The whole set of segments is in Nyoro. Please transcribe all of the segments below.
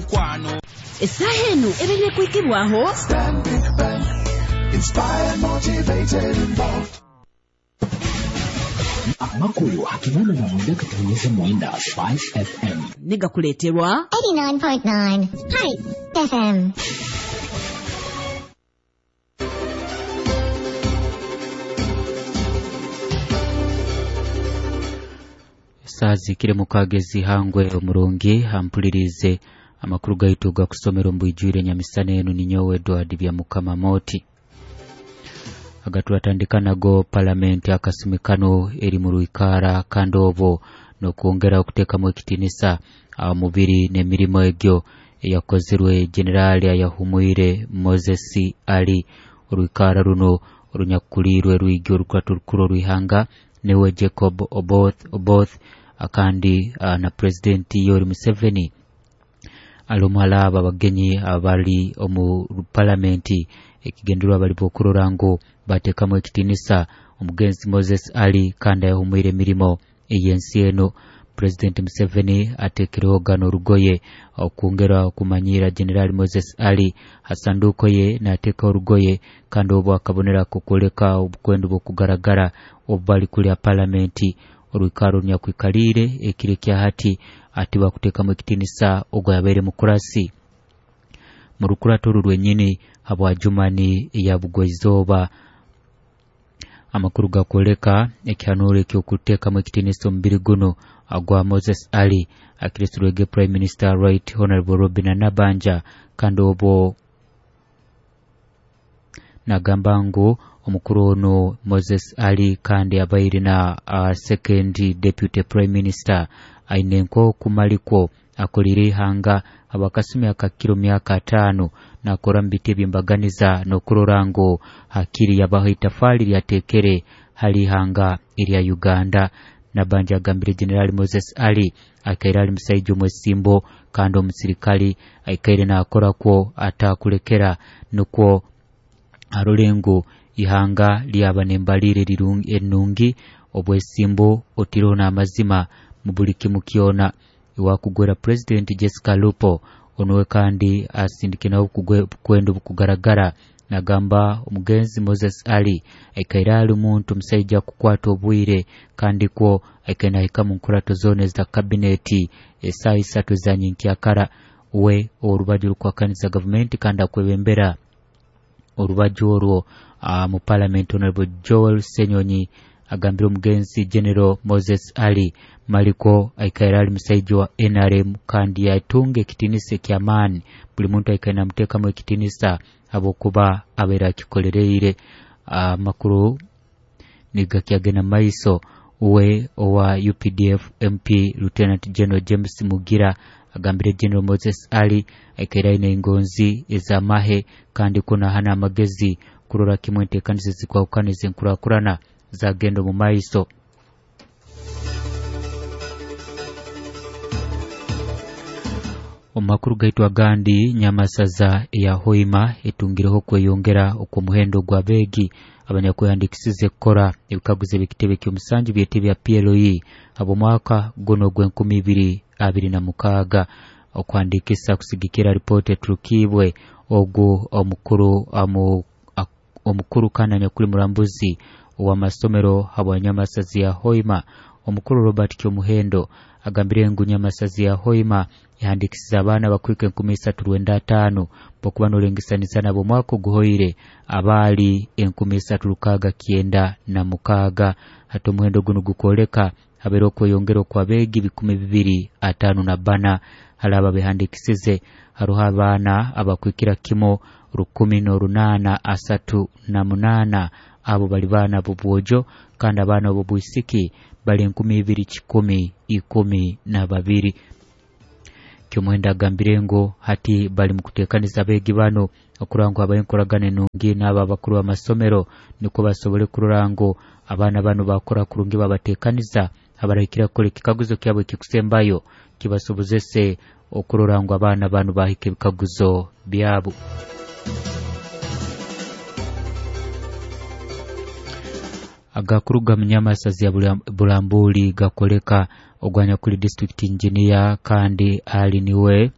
mukwano. Essaaha eno ebaire kuhikibwaho Stanbic Bank. Inspired, motivated, involved. Amakuru 89.9 Spice FM. Negakuleeterwa 89.9 Spice FM. Saazikire mukagezi hangwe omurungi hampulirize amakuru gaitu gakusomera omu nyamisana enu ninyowe Edward bya Mukama Moti. Agaturatandika nago palamenti akasumi kano eri mu rwikara kandi obwo n'okwongera okuteekamu ekitinisa mubiri n'emirimo egyo eyakozirwe Generali ayahumwire Moses Ali. Orwikara runo orunyakuliirwe rwigi orukurato rukuru orwihanga niwe Jacob Oboth akandi na President Yoweri Museveni ali omuhala abo abagenyi abali omu palamenti. Ekigendererwa bali okurora ngu bateekamu ekitinisa omugenzi Moses Ali kandi ayahumwire emirimo ey'ensi eno. President Museveni ateekereho gano orugoye okwongera okumanyira General Moses Ali ha sanduuko ye n'ateeka orugoye kandi obwo akabonera kukwoleka obukwendo bw'okugaragara obu bali kulya palamenti. Orwikaro runyakwikaliire ekiro ekya hati ati bakuteekamu ekitinisa ogwo yabaire mukurasi mu rukurato oru rwenyini habwa Jumani eya Bugwaizooba. Amakuru gakwoleka ekihanuuro eky'okuteekamu ekitinisa omubiri guno agwa Moses Ali akiresirwege Prime Minister Right Honorable Robin Nabanja kandi obwo nagamba ngu omukuru ono Moses Ali kandi abaire na second deputy prime minister aine nk'okumalikwo akolire ihanga abakasumi akakiro myaka 5 nakora mu biti ebyembaganiza n'okurora ngu hakiri yabaho itafali lyatekere hali ihanga erya Uganda. Nabanja agambire General Moses Ali akaire ali musaija omwesimbo kandi omusirikali aikaire nakorakwo atakulekera nukwo arole ngu ihanga lyaba nembalire enungi obwesimbo otiroho n'amazima mu buli kimu kyona. Iwakugwera President Jessica Lupo onowe kandi asindike nawo bukwendo bukugaragara nagamba omugenzi Moses Ali aikaire ali muntu musaija kukwata obwire kandi kwo aikaire nahika mu nkurato zona eza kabineti esaaha 3 za nyenkyakara. We orubaju rukwakaniza gavumenti kandi akwebembera orubaju orwo mu parliament Honorable Joel Senyonyi agambire omugenzi General Moses Ali maliko aikaire ali musaija wa NRM kandi yatunga ekitinisa eky'amaani buli muntu aikaire namuteekamu ekitinisa habwokuba abaire akikolereire. Amakuru nigakyagenda maiso. We owa UPDF MP Lieutenant General James Mugira agambire General Moses Ali aikaire aine engonzi ez'amahe kandi kunahana amagezi kurora kimwe enteekaniza zikwahukana ezenkurakurana zagenda omu maiso. Omu makuru gaitu agandi, Nyamasaza eya Hoima etungireho kweyongera okw'omuhendo gw'abeegi abanyakwehandikisize kukora ebikaguzo eby'ekitebe ky'omusanju byete bya PLE habw'omwaka guno ogw'enkumi ibiri abiri na mukaaga. Okuhandikisa kusigikira ripooti eturukibwe ogu omukuru kandi anyakuli murambuzi ow'amasomero habwa Nyamasazi ya Hoima omukuru Robert Kyomuhendo agambire ngu Nyamasazi ya Hoima yahandikisize abaana bakwika 3,905 bokuba nolengesaniza nabo omwaka oguhoire abaali 3,696. Hati omuhendo guno gukwoleka habaire okweyongera okw'abeegi 254 hali abo abehandikisize. Haruho abaana abakwikira kimo 1,838 abo bali baana b'obwojo kandi abaana b'obwisiki bali 2,112. Kyomuhendo agambire ngu hati bali mu kuteekaniza abeegi bano okurora ngu habaho enkoragana enungi n'abo abakuru b'amasomero nukwo basobole kurora ngu abaana bano bakora kurungi babateekaniza abarahikira kukora ekikaguzo kyabo ekikusembayo kibasobozese okurora ngu abaana bano bahika ebikaguzo byabo. Agakuruga mu Nyamasazi ya Bulambuli gakoleka ogwanya kuli district engineer kandi ali niwe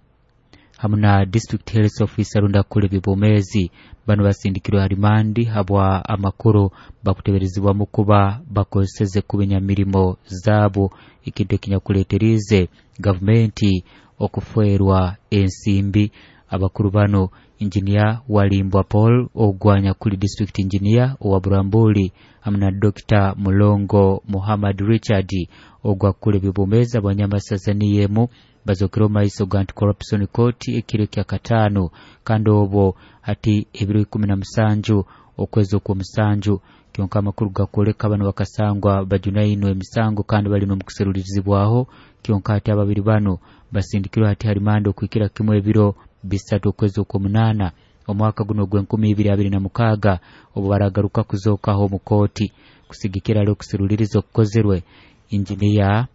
hamu na district health officer rundi akukora eby'obwomeezi. Banu basindikirwe ha rimandi habwa amakuru bakuteberezibwamu kuba bakozeseze kubi nyamirimo zaabo, ekintu ekinyakuleeteriize gavumenti okufeerwa ensimbi. Abakuru bano Engineer Walimbwa Paul ogwanya kuli district engineer owa Burambuli hamu na Dr. Mulongo Muhammad Richard ogwa kukora eby'obwomeezi abanyamasaza niyo emu bazokere omu maiso ga Anti-Corruption Court ekiro ekya kataano, kandi obwo hati ebiro 17 okwezi okw'omusanju. Kyonka amakuru gakwoleka bano bakasangwa bajunainwe emisango kandi bali n'omukuserulirizibwaho. Kyonka hati ababiri bano basindikirwe hati harimanda okuhikira kimu ebiro 3 okwezi okw'omunaana omwaka guno ogw'e 2026 obu baragaruka kuzookaho omu kooti. Kusigikira ali okuseruliriza okukozerwe injiniya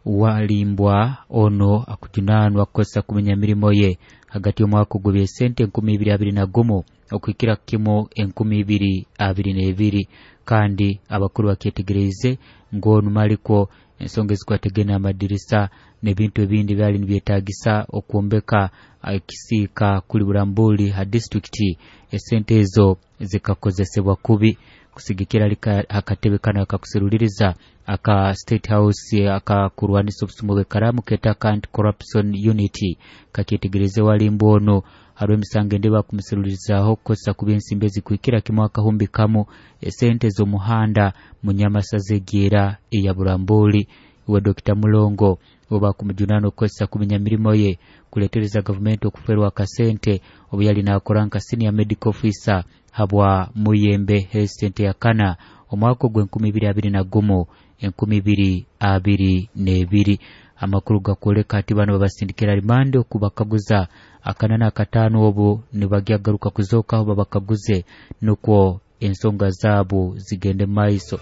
Walimbwa ono akujunanwa kukozesa kumenya mirimo ye hagati y'omwaka ogw'ebyesente 2021 okuhikira kimu 2022, kandi abakuru bakyetegereize ngu onu malikwo ensonga ezikwategene amadirisa n'ebintu ebindi byali nibyetagisa okwombeka ekisiika kuli Burambuli ha disitulikiti, esente ezo zikakozesebwa kubi. Kusigikira akatebe kano akakuseruliriza aka State House akakurwanisa obusumu bw'ekaramu ketaka Anti-Corruption Unit kakyetegereze Walimbwa ono hariho emisango endi bakumuserulirizaaho kukozesa kubi ensimbi ezikuhikira kimu akahumbi kamu esente z'omuhanda munyamasaza egyera eya Burambuli. Iwe Dr. Mulongo obu bakumujunaana okukozesa kubi nyamirimo ye kuleetereza gavumenti okuferwa akasente obu yali naakora nka senior medical officer habwa Muyembe Health Center ya Kana omwaka ogw'e 2021 2022. Amakuru gakwoleka ati bano babasindikira rimande okubakaguza akana n'akataano obu nibagyagaruka kuzookaho babakaguze nukwo ensonga zaabo zigende maiso.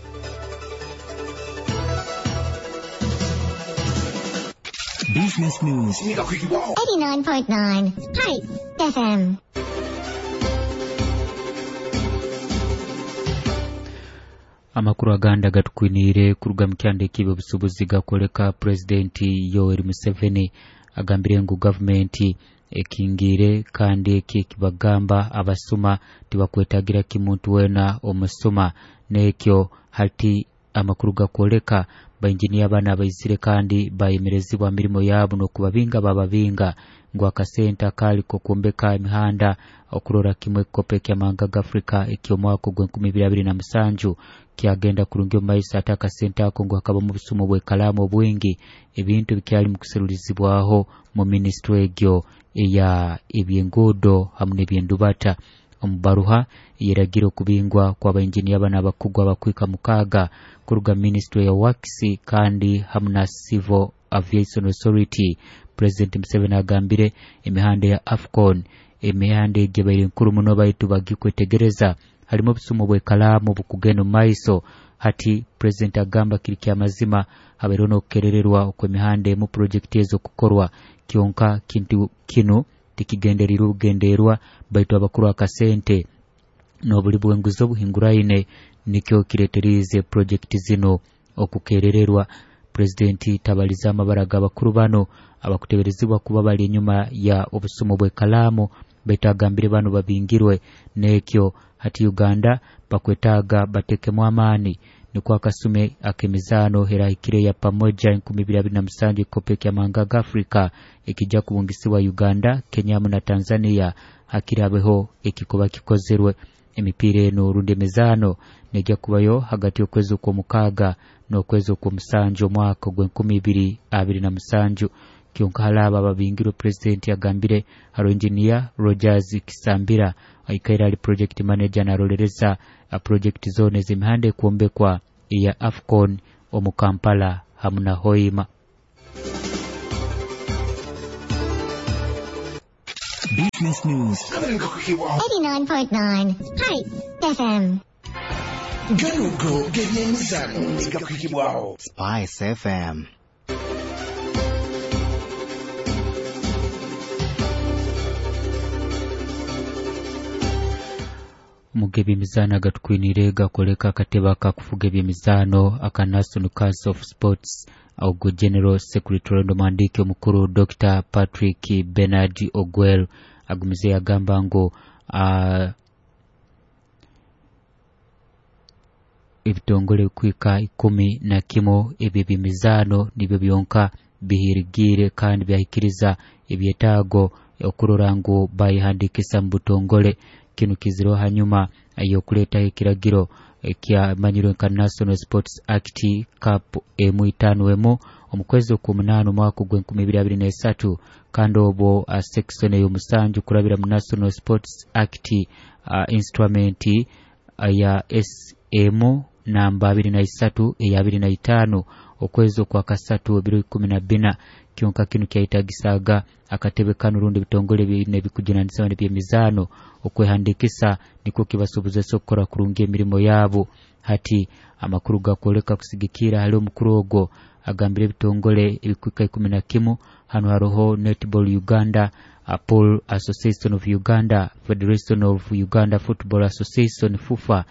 Business News 89.9 Spice FM. Amakuru agandi agatukwiniire kuruga mu kyanda eky'ebyobusuubuzi gakwoleka Pulezidenti Yoweri Museveni agambire ngu gavumenti ekingiire kandi eki ekibagamba abasuma tibakwetagira kimuntu weena omusuma. N'ekyo hati amakuru gakwoleka bainjiniya bana abaizire kandi bayemerezibwa mirimo yaabo n'okubabinga bababinga ngu akasente akaali k'okwombeka emihanda okurora kimwe ekikopo eky'amahanga g'Afrika eky'omwaka ogw'e 2027 kyagenda kurungi omu maiso, ate akasente ako ngu hakabamu obusumu bw'ekalaamu obwingi, ebintu bikyali mu kuserulirizibwaho mu minisitule egyo eya ebyenguudo hamu n'ebyendubata. Omu baruha eyeragira okubingwa kw'abainjiniya bano abakugu abakwika 6 kuruga minisitule ya Works kandi hamu na Civil Aviation Authority, President Museveni agambire emihanda ya AFCON emihanda egyo ebaire nkuru muno baitu bagikwetegereza harimu obusumu bw'ekalaamu bukugenda omu maiso. Hati President agamba kiri kyamazima habaireho n'okukerererwa okw'emihanda emu purojekiti ezo kukorwa, kyonka kintu kinu tikigendereirwe bugenderwa baitu abakuru akasente n'obuli bw'enguzi obuhinguraine nikyo kireeteriize purojekiti zino okukerererwa. Pulezidenti tabaliza amabara g'abakuru bano abakuteberezibwa kuba bali enyuma ya obusumu bw'ekalaamu, baitu agambire bano babingirwe n'ekyo hati Uganda bakwetaaga batekemu amaani nukwo akasume ak'emizaano erahikire ya pamoja 2027 ekikopo eky'amahanga g'Afrika ekijja kubungisibwa Uganda, Kenya hamu na Tanzania hakiri habeho ekikuba kikozerwe. Emipiira eno rundi emizaano nejja kubayo hagati y'okwezi okw'omukaaga n'okwezi okw'omusanju omwaka ogw'e 2027. Kyonka hali abo ababingirwe Pulezidenti agambire hariho Engineer Rogers Kisambira aikaire ali project manager narolereza purojekiti zoona ez'emihanda ekwombekwa eya AFCON omu Kampala hamu na Hoima. Business News 89.9 Spice FM. Ganugo g'ebyemizano gakwikibwaho Spice FM. Omuga ebyemizaano agatukwiniire gakoleka akatebe akakufuga ebyemizaano aka National Council of Sports Ogwo General Secretary n'omuhandiiki omukuru Dr. Patrick Bernard Ogwel agumize yagamba ngu ebitongole kwika 11 ebyo eby'emizaano nibyo byonka bihirigiire kandi byahikiriza ebyetaago okurora ngu bayihandikisa mu butongole. Kinu kizireho hanyuma y'okuleetaho ekiragiro ekyamanyirwe nka National Sports Act Cap M51 omu kwezi okw'omunaana omwaka ogw'e2023, kandi obwo section ey'omusanju kurabira mu National Sports Act instrument ya SM namba 23 eya 25 okwezi okwa kasatu ebiro 14. Kyonka kinu kyayetagisaga akatebe kanu rundi ebitongole bine ebikujunanizibwa n'eby'emizaano okwehandikisa nikwo kibasobozesa okukora kurungi emirimo yabo. Hati amakuru gakwoleka kusigikira hali omukuru ogwo agambire ebitongole ebikwika 11. Hano haroho Netball Uganda, Pool Association of Uganda, Federation of Uganda Football Association FUFA,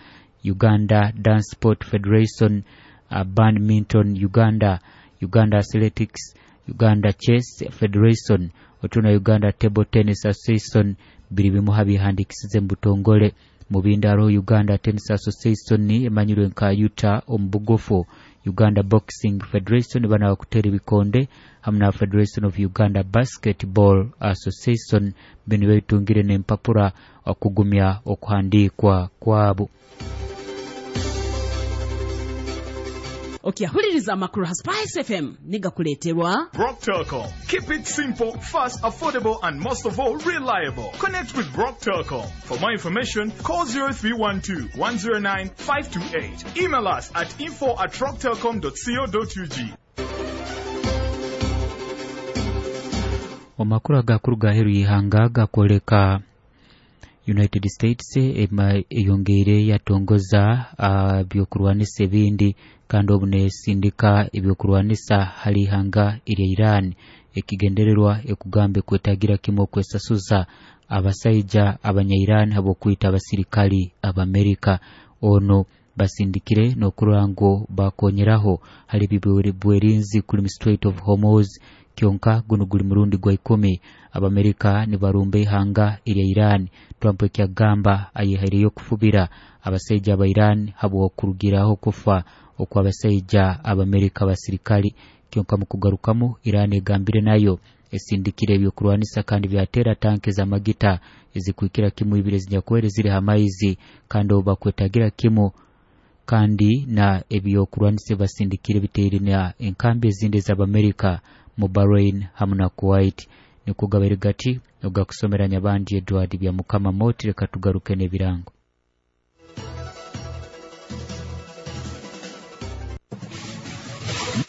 Uganda Dance Sport Federation, Badminton Uganda, Uganda Athletics, Uganda Chess Federation, otuna Uganda Table Tennis Association biri bimu habihandikisize mu butongole. Mu bindi hariho Uganda Tennis Association emanyirwe nka UTA omu bugufu, Uganda Boxing Federation bana bakutera ebikonde, hamwe na Federation of Uganda Basketball Association bino babitungire n'empapura okugumya okuhandikwa kwabo. Okyahuliriza amakuru ha Spice FM nigakuleeterwa Brock Telcom. Keep it simple, fast, affordable, and most of all, reliable. Connect with Brock Telcom. For more information, call 0312 109 528. Email us at info@rocktelcom.co.ug. Amakuru agakuru gaheru y'ihanga gakwoleka United States eyongeire yatongoza ebyokurwanisa ebindi, kandi obu nesindika ebyokurwanisa hali ihanga erya Iran. Ekigendererwa ekugamba ekwetagira kimwe okwesasuza abasaija abanya Iran habw'okwita abasirikali ab'Amerika. Ono basindikire n'okurora ngu bakonyeraho hali bwerinzi kuli mu Strait of Hormuz. Kyonka guno guli murundi gwa 10 Abamerika nibarumba ihanga erya Iran. Trump ekyagamba ayehaireyo okufubira abasaija aba Iran habw'okurugiraho kufa okw'abasaija Abamerika abasirikali. Kyonka mu kugarukamu Iran egambire nayo esindikire ebyokurwanisa kandi byatera tanke z'amagita ezikwikira kimu ibiri ezinyakwere ziri ha maizi, kandi obu bakwetagira kimu kandi na ebyokurwanisa basindikire biteire na enkambi ezindi ez'Abamerika mu Bahrain hamwe na Kuwait. Nikugabaire gati ogakusomera Nyabandi Edward bya Mukama Moti. Reka tugaruke n'ebirango.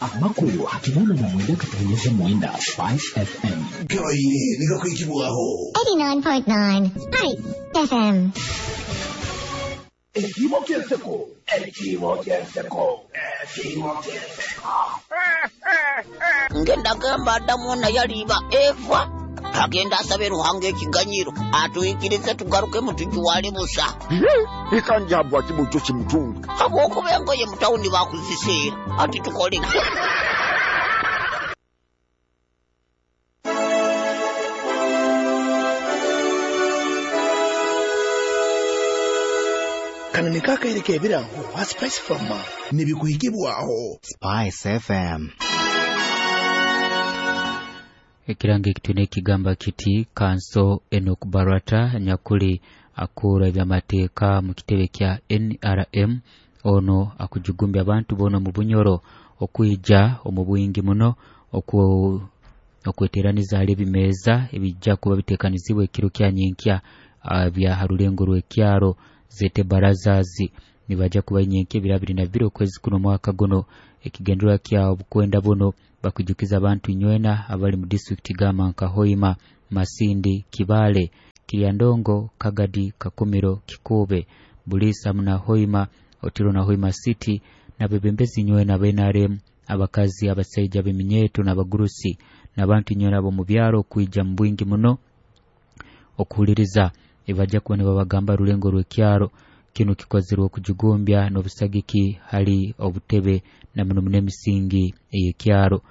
Amakuru hakinana na mwenda katonyeza mwenda Spice FM. Gabaire nigakwikibwaho 89.9 Spice FM. Ekibo ky'enseko, ekibo ky'enseko, ekibo ky'enseko. Ngenda gamba Adamu ona yaliba Eva agenda asabe Ruhanga ekiganyiro atuyikirize tugaruke mutujuwale busa. Ikanjabwa kibucho kimutunga. Habwokuba engoye mu tawuni bakuziseera ati tukole. Kano nikaakaire ebirango ha Spice Farmer nibikuhikibwaho Spice FM. Ekirango ekitune ekigamba kiti Kanso Enoch Barata nyakuli akura ebyamateeka mu kitebe kya NRM ono akujugumbya abantu bono mu Bunyoro okwija omu bwingi muno okweteraniza hali ebimeeza ebijja kuba biteekanizibwa ekiro kya nyenkya bya harulengo rw'ekyaro zete barazazi nibaja kuba nyenkya ebiro 22 okwezi kuno mwaka guno. Ekigendererwa kya obukwenda buno bakujukiza abantu inywena abali mu district gama nka Hoima, Masindi, Kibale, Kiryandongo, Kagadi, Kakumiro, Kikube, Bulisa muna Hoima, Otiro na Hoima City n'abebembezi inywena aba NRM, abakazi, abasaija b'eminyeeto n'abagurusi n'abantu inywena abo mu byaro kwija mu bwingi muno okuhuliriza ebajja kuba nibabagamba rulengo rw'ekyaro. Kinu kikozerwe okujugumbya n'obusagiki hali obutebe na muno muno emisingi ey'ekyaro.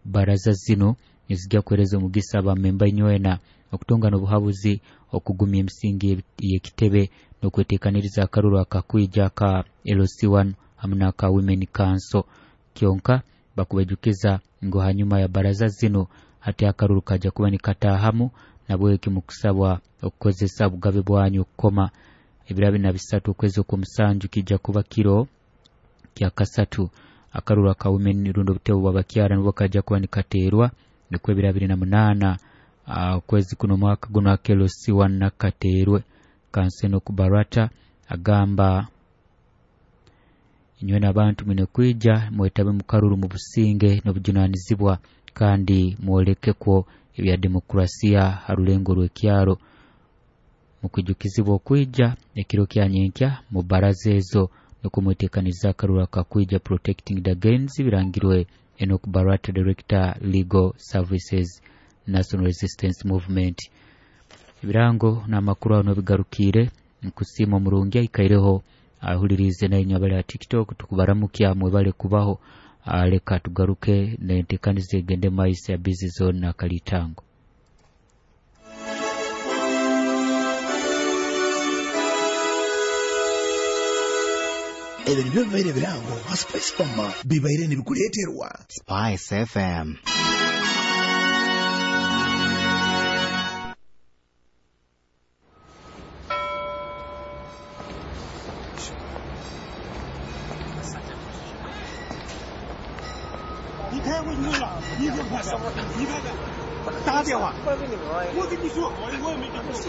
Baraza zino nizijja kuhereza omugisa abamemba inywena okutunga n'obuhabuzi okugumya emisingi y'ekitebe n'okweteekaniriza akaruru akakwija ka LC1 hamu n'aka Women Council. Kyonka bakubejukiza ngu hanyuma ya baraza zino hati akaruru kajja kuba nikataahamu, nabweki mukusabwa okukozesa obugabe bwanyu okukoma ebiro 23 okwezi okw'omusanju kijja kuba kiro kya kasatu. Akaruru aka women rundi obutebe bw'abakyara nibwo kajja kuba nikateerwa, nikwo ebiro 28 okwezi kuno omwaka guno aka LC1 nakateerwe. Kanseno Kubarata agamba inywe n'abantu mwine kwija mwetabe mu karuru mu businge n'obujunanizibwa kandi mwolekekwo ebya demokrasiya ha rulengo rw'ekyaro. Mukwijukizibwa okwija ekiro kya nyenkya mu baraza ezo nukumweteekaniza akaruru akakwija Protecting the Gains birangirwe Enoch Barata, Director Legal Services, National Resistance Movement. Ebirango n'amakuru aho nobigarukiire. Nkusiima omurungi aikaireho ahulirize nainywe abali ha TikTok, tukubaramukya mwebale kubaho. Leka tugaruke nenteekaniza egende maiso ya Busy Zone na Kalitango. Ebyo nibyo bibaire ebirango ha Spice Farmer bibaire nibikuleeterwa Spice FM. 你开回去了，你别拍了，你看看，打电话，我跟你说，我也没跟你说。